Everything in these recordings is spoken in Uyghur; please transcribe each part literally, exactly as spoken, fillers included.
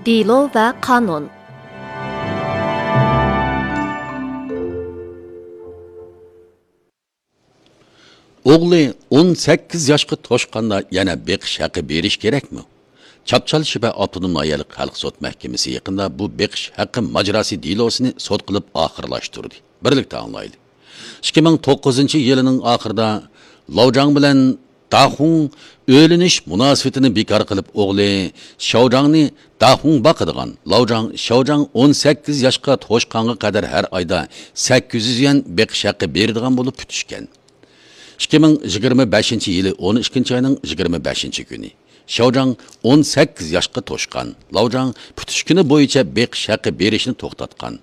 دېلو ۋە قانۇن. ئوغلى ئون سەككىز ياشقا توشقاندا يەنە بېقىش ھەققى بېرىش كېرەكمۇ؟ چاپچال شىبە ئاپتونوم ناھىيەلىك خەلق سوت مەھكىمىسى يېقىندا بۇ بېقىش ھەققى ماجىراسى دېلوسىنى سوت قىلىپ ئاخىرلاشتۇردى. بىرلىكتە ئاڭلايلى. ئىككى مىڭ توققۇزىنچى يىلىنىڭ ئاخىرىدا لاۋجاڭ بىلەن داخۇڭ ئۆيلىنىش مۇناسىۋىتىنى بىكار قىلىپ، ئوغلى شياۋجاڭنى داخۇڭ باقىدىغان، لاۋجاڭ شياۋجاڭ ئون سەككىز ياشقا توشقانغا قەدەر ھەر ئايدا سەككىز يۈز يۈەن بېقىش ھەققى بېرىدىغان بولۇپ پۈتۈشكەن. ئىككى مىڭ يىگىرمە بەشىنچى يىلى ئون ئىككىنچى ئاينىڭ يىگىرمە بەشىنچى كۈنى شياۋجاڭ ئون سەككىز ياشقا توشقان، لاۋجاڭ پۈتۈش كۈنى بويىچە بېقىش ھەققى بېرىشنى توختاتقان.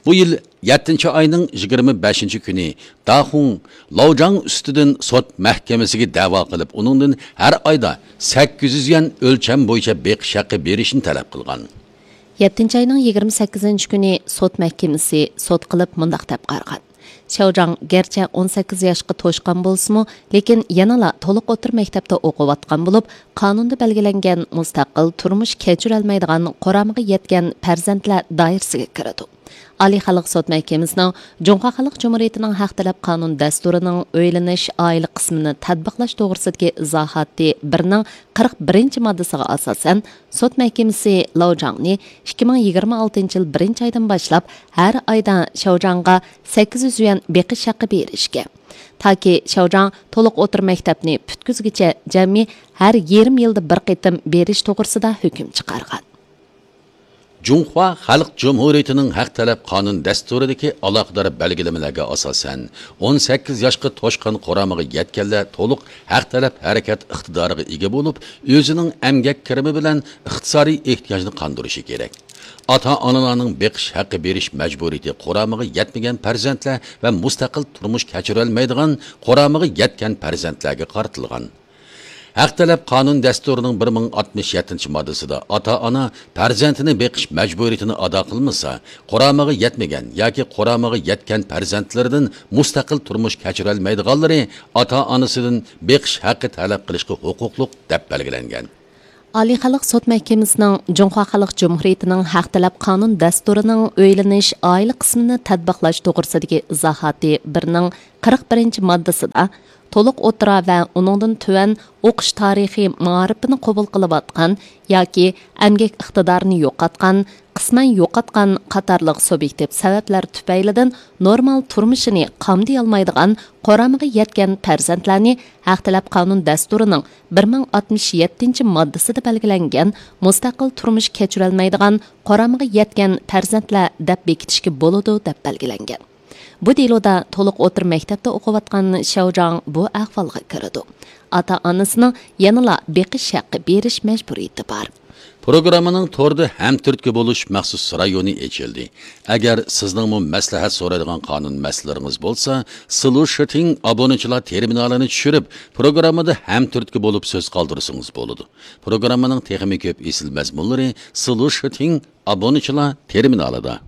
بۇ يىل يەتتىنچى ئاينىڭ يىگىرمە بەشىنچى كۈنى داخۇڭ لاۋجاڭ ئۈستىدىن سوت مەھكىمىسىگە دەۋا قىلىپ، ئۇنىڭدىن ھەر ئايدا سەككىز يۈز يۈەن ئۆلچەم بويىچە بېقىش ھەققى بېرىشنى تەلەپ قىلغان. يەتتىنچى ئاينىڭ يىگىرمە سەككىزىنچى كۈنى سوت مەھكىمىسى سوت قىلىپ مۇنداق دەپ قارىغان: شياۋجاڭ گەرچە ئون سەككىز ياشقا توشقان بولسىمۇ، لېكىن يەنىلا تولۇق ئوتتۇرا مەكتەپتە ئوقۇۋاتقان بولۇپ، قانۇندا بەلگىلەنگەن مۇستەقىل تۇرمۇش كەچۈرەلمەيدىغان قۇرامىغا يەتكەن پەرزەنتلەر دائىرىسىگە كىرىدۇ. ئالىي خەلق سوت مەھكىمىسىنىڭ جۇڭخۇا خەلق جۇمھۇرىيىتىنىڭ ھەق تەلەپ قانۇن دەستۇرىنىڭ ئۆيلىنىش ئائىلە قىسمىنى تەتبىقلاش توغرىسىدىكى ئىزاھاتى بىرنىڭ قىرىق بىرىنچى ماددىسىغا ئاساسەن، سوت مەھكىمىسى لاۋجاڭنى ئىككى مىڭ يىگىرمە ئالتىنچى يىل بىرىنچى ئايدىن باشلاپ ھەر ئايدا شياۋجاڭغا سەككىز يۈز يۈەن بېقىش ھەققى بېرىشكە، تاكى شياۋجاڭ تولۇق ئوتتۇرا مەكتەپنى پۈتكۈزگۈچە جەمئىي ھەر يېرىم يىلدا بىر قېتىم بېرىش توغرىسىدا ھۆكۈم چىقارغان. جۇڭخۇا خەلق جۇمھۇرىيىتىنىڭ ھەق تەلەپ قانۇن دەستۇرىدىكى ئالاقىدار بەلگىلىمىلەرگە ئاساسەن، ئون سەككىز ياشقا توشقان قۇرامىغا يەتكەنلەر تولۇق ھەق تەلەپ ھەرىكەت ئىقتىدارىغا ئىگە بولۇپ، ئۆزىنىڭ ئەمگەك كىرىمى بىلەن ئىقتىسادىي ئېھتىياجنى قاندۇرۇشى كېرەك. ئاتا-ئانىلارنىڭ بېقىش ھەققى بېرىش مەجبۇرىيىتى قۇرامىغا يەتمىگەن پەرزەنتلەر ۋە مۇستەقىل تۇرمۇش كەچۈرەلمەيدىغان قۇرامىغا يەتكەن پەرزەنتلەرگە قارىتىلغان. ھەق تەلەپ قانۇن دەستۇرىنىڭ بىر مىڭ ئاتمىش يەتتىنچى ماددىسىدا ئاتا-ئانا پەرزەنتىنى بېقىش مەجبۇرىيىتىنى ئادا قىلمىسا، قۇرامىغا يەتمىگەن ياكى قۇرامىغا يەتكەن پەرزەنتلىرىدىن مۇستەقىل تۇرمۇش كەچۈرەلمەيدىغانلىرى ئاتا-ئانىسىدىن بېقىش ھەققى تەلەپ قىلىشقا ھوقۇقلۇق، دەپ بەلگىلەنگەن. ئالىي خەلق سوت مەھكىمىسىنىڭ جۇڭخۇا خەلق جۇمھۇرىيىتىنىڭ ھەق تەلەپ قانۇن دەستۇرىنىڭ ئۆيلىنىش ئائىلە قىسمىنى تەتبىقلاش توغرىسىدىكى ئىزاھاتى بىرنىڭ قىرىق بىرىنچى ماددىسىدا، تولۇق ئوتتۇرا ۋە ئۇنىڭدىن تۆۋەن ئوقۇش تارىخى مائارىپىنى قوبۇل قىلىۋاتقان ياكى ئەمگەك ئىقتىدارىنى يوقاتقان، قىسمەن يوقاتقان قاتارلىق سۇبيېكتىپ سەۋەبلەر تۈپەيلىدىن نورمال تۇرمۇشىنى قامدىيالمايدىغان قۇرامىغا يەتكەن پەرزەنتلەرنى ھەق تەلەپ قانۇن دەستۇرىنىڭ بىر مىڭ ئاتمىش يەتتىنچى ماددىسىدا بەلگىلەنگەن مۇستەقىل تۇرمۇش كەچۈرەلمەيدىغان قۇرامىغا يەتكەن پەرزەنتلەر دەپ بېكىتىشكە بولىدۇ، دەپ بەلگىلەنگەن. بۇ دېلودا تولۇق ئوتتۇرا مەكتەپتە ئوقۇۋاتقان شياۋجاڭ بۇ ئەھۋالغا كىرىدۇ. ئاتا-ئانىسىنىڭ يەنىلا بېقىش ھەققى بېرىش مەجبۇرىيىتى بار. پروگراممىنىڭ توردا ھەمتۈرتكە بولۇش مەخسۇس رايونى ئېچىلدى. ئەگەر سىزنىڭمۇ مەسلىھەت سورايدىغان قانۇن مەسىلىلىرىڭىز بولسا، سلۇشىتىڭ ئابۇنىچىلار تېرمىنالىنى چۈشۈرۈپ، پروگراممىدا ھەمتۈرتكە بولۇپ سۆز قالدۇرسىڭىز بولىدۇ. پروگراممىنىڭ تېخىمۇ كۆپ ئېسىل مەزمۇنلىرى سلۇشىتىڭ ئابۇنىچىلار تېرمىنالىدا.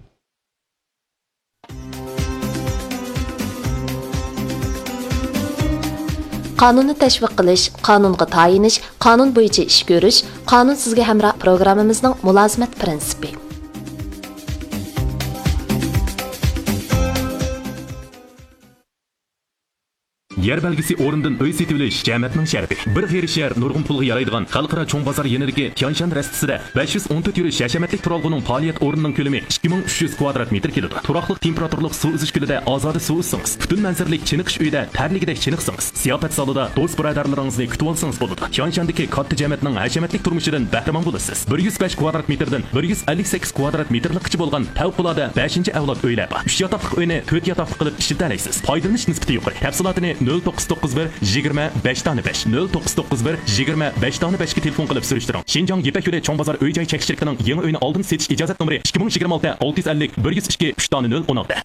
قانۇننى تەشۋىق قىلىش، قانۇنغا تايىنىش، قانۇن بويىچە ئىش كۆرۈش، قانۇن سىزگە ھەمراھ پروگراممىمىزنىڭ مۇلازىمەت پىرىنسىپى. يەر بەلگىسى ئورنىدىن ئۆي سېتىۋېلىش جەمەتنىڭ شەرىپى. بىر غېرىب شەھەر نۇرغۇن پۇلغا يارايدىغان خەلقئارا چوڭ بازار يېنىدىكى تيانشان رەستىسىدە بەش يۈز ئون تۆت يۈرۈش ھەشەمەتلىك تۇرالغۇنىڭ پائالىيەت ئورنىنىڭ كۆلىمى ئىككى مىڭ ئۈچ يۈز كۋادرات مېتىر كېلىدۇ. تۇراقلىق تېمپېراتۇرىلىق سۇ ئۈزۈش كۆلىدە ئازادە سۇ ئۈزسىڭىز، پۈتۈن مەنزىرىلىك چېنىقىش ئۆيىدە تەرلىگۈدەك چېنىقسىڭىز، زىياپەت زالىدا دوست بۇرادەرلىرىڭىزنى كۈتۈۋالسىڭىز بولىدۇ. تيانشاندىكى كاتتا جەمەتنىڭ ھەشەمەتلىك تۇرمۇشىدىن بەھرىمەن بولىسىز. بىر يۈز بەش كۋادرات مېتىردىن بىر يۈز ئەللىك سەككىز كۋادرات مېتىرلىققىچە بولغان پەۋقۇلئاددە بەشىنچى ئەۋلاد ئۆيلەر بار. ئۈچ ياتاقلىق ئۆينى تۆت ياتاقلىق قىلىپ ئىشلىتەلەيسىز. پايدىلىنىش نىسبىتى يۇقىرى. تەپسىلاتىنى نۆل توققۇز توققۇز بىر يىگىرمە بەش دانە بەش، نۆل توققۇز توققۇز بىر يىگىرمە بەش دانە بەشكە تېلېفون قىلىپ سۈرۈشتۈرۈڭ. شىنجاڭ يىپەك يولى چوڭ بازار ئۆي جاي چەكلىك شىركىتىنىڭ يېڭى ئۆينى ئالدىن سېتىش ئىجازەت نومۇرى ئىككى مىڭ يىگىرمە ئالتە ئالتە يۈز ئەللىك بىر يۈز ئىككى ئۈچ دانە نۆل ئون ئالتە.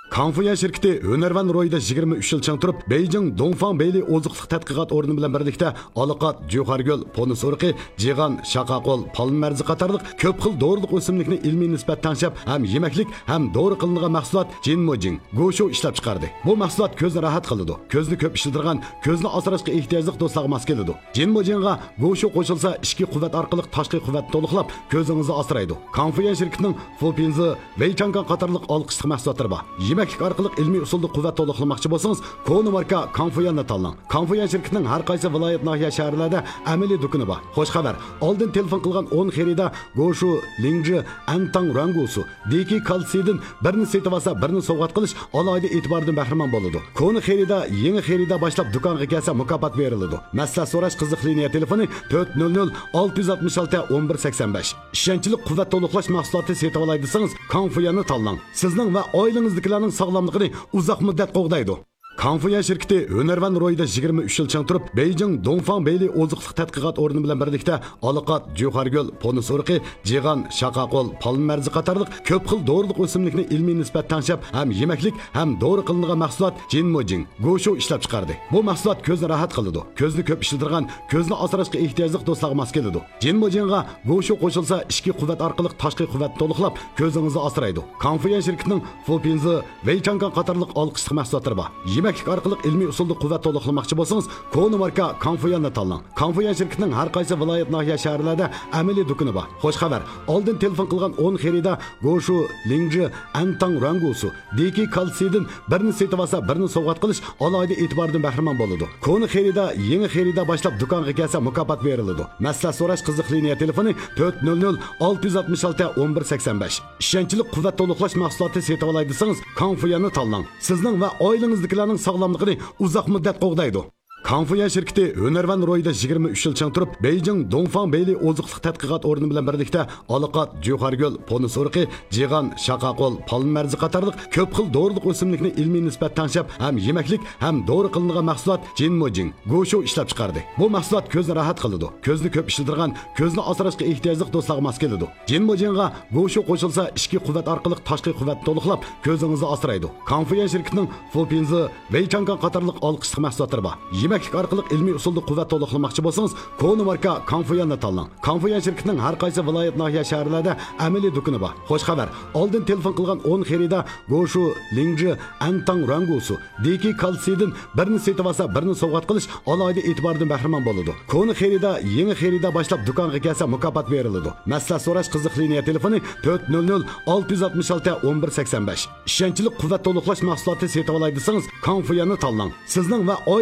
كاڭفۇيۈەن شىركىتى ھۈنەرۋەن روھىدا يىگىرمە ئۈچ يىل چىڭ تۇرۇپ، بېيجىڭ دۇڭفاڭ بېيلى ئوزۇق-تۈلۈك تەتقىقات ئورنى بىلەن بىرلىكتە ئالىقات، جۇخارگۈل، پونۇس ئۇرۇقى، جىغان، شاقاقول، پالما مەرزى قاتارلىق كۆپ خىل دورىلىق ئۆسۈملۈكنى ئىلمىي نىسبەت تەڭشەپ، ھەم يېمەكلىك، ھەم دورا قىلىنىدىغان مەھسۇلات جىنمۇجىڭ، گوشۇ ئىشلەپ چىقاردى. بۇ مەھسۇلات كۆزنى راھەت قىلىدۇ. كۆزنى كۆپ ئىشلىتىدىغان، كۆزنى ئاسراشقا ئېھتىياجلىق دوستلارغا ماس كېلىدۇ. جىنمۇجىڭغا گوشۇ قوشۇلسا، ئىچكى قۇۋۋەت ئارقىلىق تاشقى قۇۋۋەتنى تولۇقلاپ، كۆزىڭىزنى ئاسرايدۇ. كاڭفۇيۈەن شىركىتىنىڭ فۇپىنزى، ۋېيچاڭگاڭ قاتارلىق ئالقىشلىق مەھسۇلاتلىرى بار. يېمەكلىك ئارقىلىق ئىلمىي ئۇسۇلدا قۇۋۋەت تولۇقلىماقچى بولسىڭىز، كونا ماركا كاڭفۇيۈەننى تاللاڭ. كاڭفۇيۈەن شىركىتىنىڭ ھەر قايسى ۋىلايەت، ناھىيە، شەھەرلەردە ئەمەلىي دۇكىنى بار. خوش خەۋەر! ئالدىن تېلېفون قىلغان ئون خېرىدار گوشۇ، لىڭجى، ئەنتاڭ رۇەنگۇسۇ، دېكى كالتسىيدىن بىرنى سېتىۋالسا، بىرنى سوۋغات قىلىش ئالاھىدە ئېتىباردىن بەھرىمەن بولىدۇ. كونا خېرىدار، يېڭى خېرىدار باشلاپ دۇكانغا كەلسە، مۇكاپات بېرىلىدۇ. مەسلىھەت سوراش قىزىق لىنىيە تېلېفونى تۆت نۆل نۆل ئالتە يۈز ئاتمىش ئالتە ئون بىر سەكسەن بەش. ئىشەنچلىك قۇۋۋەت تولۇقلاش مەھسۇلاتى سېتىۋالاي دېسىڭىز، كاڭفۇيۈەننى تاللاڭ. سىزنىڭ ۋە ئائىلىڭىزدىكىلەرنىڭ ساغلاملىقىنى ئۇزاق مۇددەت قوغدايدۇ. كاڭفۇيۈەن شىركىتى ھۈنەرۋەن روھىدا يىگىرمە ئۈچ يىل چىڭ تۇرۇپ، بېيجىڭ دۇڭفاڭ بېيلى ئوزۇقلۇق تەتقىقات ئورنى بىلەن بىرلىكتە ئالىقات، جۇخارگۈل، پونۇس ئۇرۇقى، جىغان، شاقاقول، پالما مەرزى قاتارلىق كۆپ خىل دورىلىق ئۆسۈملۈكنى ئىلمىي نىسبەت تەڭشەپ، ھەم يېمەكلىك، ھەم دورا قىلىنىدىغان مەھسۇلات جىنمۇجىڭ، گوشۇ ئىشلەپ چىقاردى. بۇ مەھسۇلات كۆزنى راھەت قىلىدۇ. كۆزنى كۆپ ئىشلىتىدىغان، كۆزنى ئاسراشقا ئېھتىياجلىق دوستلارغا ماس كېلىدۇ. جىنمۇجىڭغا گوشۇ قوشۇلسا، ئىچكى قۇۋۋەت ئارقىلىق تاشقى قۇۋۋەتنى تولۇقلاپ، كۆزىڭىزنى ئاسرايدۇ. كاڭفۇيۈەن شىركىتىنىڭ فۇپىنزى، ۋېيچاڭگاڭ قاتارلىق ئالقىشلىق مەھسۇلاتلىرى بار. يېمەكلىك ئارقىلىق ئىلمىي ئۇسۇلدا قۇۋۋەت تولۇقلىماقچى بولسىڭىز، كونا ماركا كاڭفۇيۈەننى تاللاڭ. كاڭفۇيۈەن شىركىتىنىڭ ھەر قايسى ۋىلايەت، ناھىيە، شەھەرلەردە ئەمەلىي دۇكىنى بار. خوش خەۋەر! ئالدىن تېلېفون قىلغان ئون خېرىدار گوشۇ، لىڭجى، ئەنتاڭ رۇەنگۇسۇ، دېكى كالتسىيدىن بىرنى سېتىۋالسا، بىرنى سوۋغات قىلىش ئالاھىدە ئېتىباردىن بەھرىمەن بولىدۇ. كونا خېرىدار، يېڭى خېرىدار باشلاپ دۇكانغا كەلسە، مۇكاپات بېرىلىدۇ. مەسلىھەت سوراش قىزىق لىنىيە تېلېفونى تۆت نۆل نۆل ئالتە يۈز ئاتمىش ئالتە ئون بىر سەكسەن بەش. ئىشەنچلىك قۇۋۋەت تولۇقلاش مەھسۇلاتى سېتىۋالاي دېسىڭىز، كاڭفۇيۈەننى تاللاڭ. سىزنىڭ ۋە ئائىلىڭىزدىكىلەرنىڭ ساغلاملىقىنى ئۇزاق مۇددەت قوغدايدۇ. كاڭفۇيۈەن شىركىتى ھۈنەرۋەن روھىدا يىگىرمە ئۈچ يىل چىڭ تۇرۇپ، بېيجىڭ دۇڭفاڭ بېيلى ئوزۇقلۇق تەتقىقات ئورنى بىلەن بىرلىكتە ئالىقات، جۇخارگۈل، پونۇس ئۇرۇقى، جىغان، شاقاقول، پالما مەرزى قاتارلىق كۆپ خىل دورىلىق ئۆسۈملۈكنى ئىلمىي نىسبەت تەڭشەپ، ھەم يېمەكلىك، ھەم دورا قىلىنىدىغان مەھسۇلات جىنمۇجىڭ، گوشۇ ئىشلەپ چىقاردى. بۇ مەھسۇلات كۆزنى راھەت قىلىدۇ. كۆزنى كۆپ ئىشلىتىدىغان، كۆزنى ئاسراشقا ئېھتىياجلىق دوستلارغا ماس كېلىدۇ. جىنمۇجىڭغا گوشۇ قوشۇلسا، ئىچكى قۇۋۋەت ئارقىلىق تاشقى قۇۋۋەتنى تولۇقلاپ، كۆزىڭىزنى ئاسرايدۇ. كاڭفۇيۈەن شىركىتىنىڭ فۇپىنزى، ۋېيچاڭگاڭ قاتارلىق ئالقىشلىق مەھسۇلاتلىرى بار. يېمەكلىك ئارقىلىق ئىلمىي ئۇسۇلدا قۇۋۋەت تولۇقلىماقچى بولسىڭىز، كونا ماركا كاڭفۇيۈەننى تاللاڭ. كاڭفۇيۈەن شىركىتىنىڭ ھەر قايسى ۋىلايەت، ناھىيە، شەھەرلەردە ئەمەلىي دۇكىنى بار. خوش خەۋەر! ئالدىن تېلېفون قىلغان ئون خېرىدار گوشۇ، لىڭجى، ئەنتاڭ رۇەنگۇسۇ، دېكى كالتسىيدىن بىرنى سېتىۋالسا، بىرنى سوۋغات قىلىش ئالاھىدە ئېتىباردىن بەھرىمەن بولىدۇ. كونا خېرىدار، يېڭى خېرىدار باشلاپ دۇكانغا كەلسە، مۇكاپات بېرىلىدۇ. مەسلىھەت سوراش قىزىق لىنىيە تېلېفونى تۆت نۆل نۆل ئالتە يۈز ئاتمىش ئالتە ئون بىر سەكسەن بەش. ئىشەنچلىك قۇۋۋەت تولۇقلاش مەھسۇلاتى سېتىۋالاي دېسىڭىز، كاڭفۇيۈەننى تاللاڭ. سىزنىڭ ۋە